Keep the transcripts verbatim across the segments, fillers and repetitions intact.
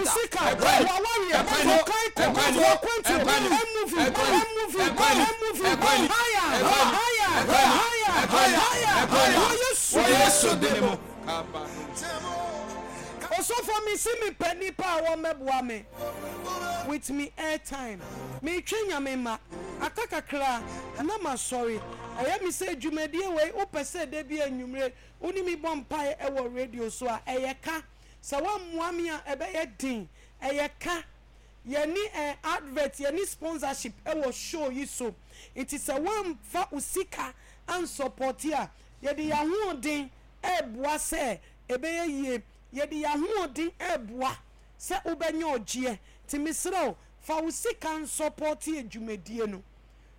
sika, w'awareɛ, wo kan kɔ, w'akwantuo, ɛmuvi, ɛmuvi, ɛmuvi, haya, haya, haya, haya, wɔ Yesu din mu. Osofo, mesi mepɛ nipa a wɔmmɛboa me with me airtime. Metwe Nyame ma aka kakra na masɔre. Ɛyɛ me sɛ dwumadie wei, wopɛ sɛ da bi anwummere wo ne me bɔ mpaeɛ ɛwɔ radio so a, ɛyɛ ka. Sɛ woammoa me a, ɛbɛyɛ den. Ɛyɛ ka. Yɛne eh, advert, yɛne sponsorship ɛwɔ show yi so, nti sɛ woamfa wo sika ansupporte a, yɛde yɛn ahoɔden ɛɛboa sɛ ɛbɛyɛ yie. Yɛde yɛn ahoɔden ɛɛboa sɛ wobɛnya ɔgyeɛ. Nti mesrɛ wo, fa wo sika nsupporte adwumadie no.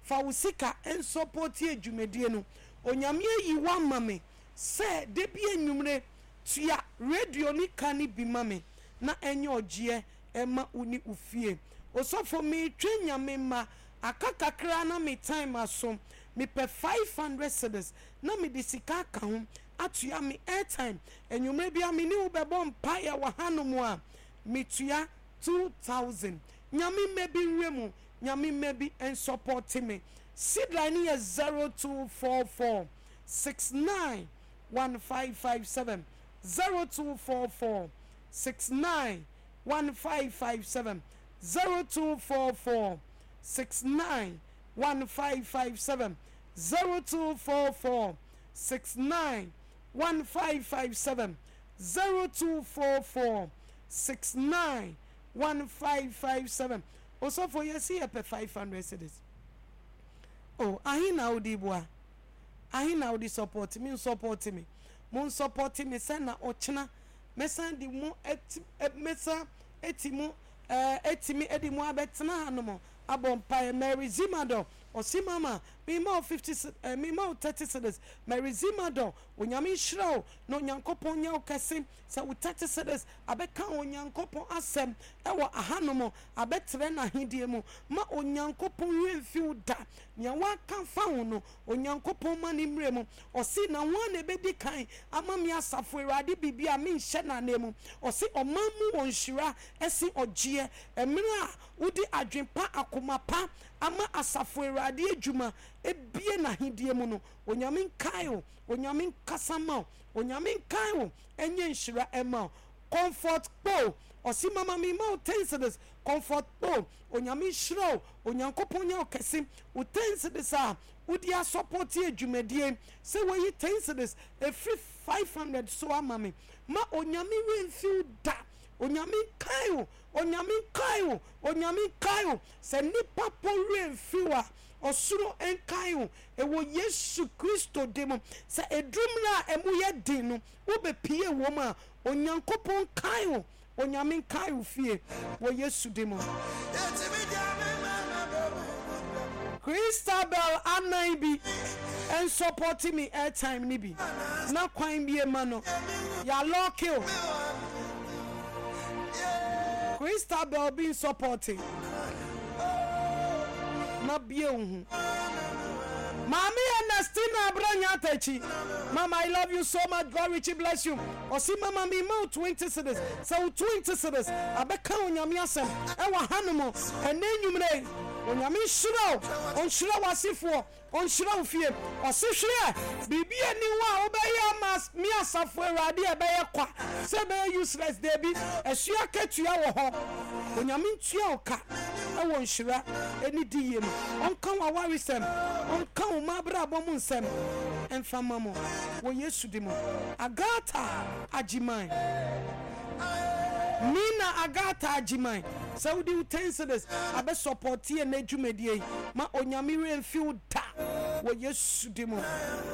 Fa wo sika nsupporte adwumadie no. Onyame ayi wo ama me sɛ da bi anwummere tua radio ne ka ne bi ma me na ɛnyɛ ɔgyeɛ ɛma wo ne wo fie. Osɔfo, metwe Nyame ma aka kakra na me time aso. Mepɛ five hundred cedis na mede sika aka ho atua me airtime. Anwummerɛ bia me ne wo bɛbɔ mpaeɛ wɔ hanom a, metua two thousand. Nyame mma bi nwura mu, Nyame mma bi nsupporte me. Seed line no yɛ zero two four four six nine one five five seven, zero two four four six nine one five five seven, zero two four four six nine one five five seven, zero two four four six nine one five five seven, zero two four four six nine one five five seven. Osɔfo, yɛsi yɛpɛ five hundred cedis o. Ahe na wode boa? Ahe na wode support me? Support me, mo support me sɛ na ɔkyena mɛsan de mo eti, mɛsan eti mo ɛɛ etimi ɛde mo abɛtena hanom abɔ mpaeɛ. Mary Zimadɔ ɔsi, "Mama, mema wo fifty, ɛɛ mema wo thirty cedis." Mary Zimadɔ, Onyame nhyira wo na Onyankopɔn nyɛ wo kɛse sɛ wo thirty cedis abɛka Onyankopɔn asɛm ɛwɔ ahanom, abɛtrɛ n'ahedie mu ma Onyankopɔn werɛ mfi wo da. Nea waka fa ho no, Onyankopɔn ma ne mmerɛ mu. Ɔsi, "Na wɔn na ebedi kan ama mi Asafo Awurade biribi a menhyɛ n'anan mu." Ɔsi, ɔman mu wɔ nhyira ɛsi ɔgyeɛ mmerɛ a wode adwen pa, akoma pa ama Asafo Awurade adwuma ebie n'ahedie mu no. Onyame nkae o, Onyame nkasa ma o, Onyame nkae o, ɛnyɛ nhyira ɛma o. Comfort Kpo ɔsi, "Mama, mi ma o ten cedis." Comfort Kpo, Onyame nhyira o, Onyankopɔn nyɛ o kɛse. O ten cedis a wode asupporte adwumadie, sɛ wɔyi ten cedis efiri five hundred so ama me, ma Onyame werɛ mfi wo da. Onyame nkae o, Onyame nkae o, Onyame nkae o. Sɛ nipa po werɛ mfi wo a, ɔsoro nkae o, ɛwɔ Yesu Kristo de mu. Sɛ edumuna a ɛmu yɛ den no wobɛpie wɔ mu a, Onyankopɔn nkae o, Onyame nkae wo fie wɔ Yesu de mu. Christabel anan bi nsupporte me airtime ni bi na kwan bie ma no yalɔke o. Christabel bi nsupporte na bie wo ho. Maame Ernestina Abranya Atakyi, "Mama, I love you so much. God richly bless you." Ɔsi, "Mama, mi ma wo twenty cedis." Sɛ wo twenty cedis abɛka Onyame asɛm ɛwɔ hanom ɛnɛ nwummerɛ yi, Onyame nhyira wo, ɔnhyira w'asefoɔ, ɔnhyira wo fie. Ɔse, "Hwɛ, biribi ani hɔ a wobɛyɛ ama me Asafo Awurade a ɛbɛyɛ kwa sɛ ɛbɛyɛ useless. Daabi, ɛso akatua wɔ hɔ. Onyame ntua wo ka ɛwɔ nhyira ɛne di yie mu. Ɔnka wo awaresɛm, ɔnka wo ma abrabɔ mu nsɛm ɛmfa ma mo wɔ Yesu di mu. Agata Agyiman, Nina Agata Agyiman, sɛ wode wo ten cedis abɛsupporte yɛ n'adwumadie yi, ma Onyame werɛ mfi wo da wɔ Yesu di mu.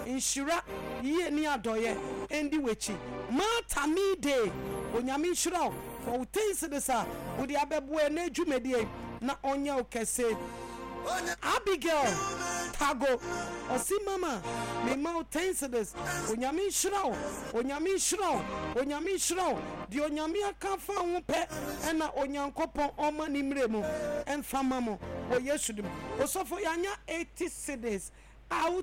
Nhyira yie ne adɔyɛ ɛndi w'akyi. Martha Mide, Onyame nhyira wo for wo ten cedis a wode abɛboa yɛ n'adwumadie yi na ɔnyɛ wo kɛse. Abigail Tago ɔsi, "Mama, mema wo ten cedis. Onyame nhyira wo, Onyame nhyira wo, Onyame nhyira wo. Deɛ Onyame aka fa ho pɛ ɛna Onyankopɔn ɔma ne mmerɛ mu ɛmfa ma mo wɔ Yesu dim." Osɔfo, yɛanya eighty cedis a.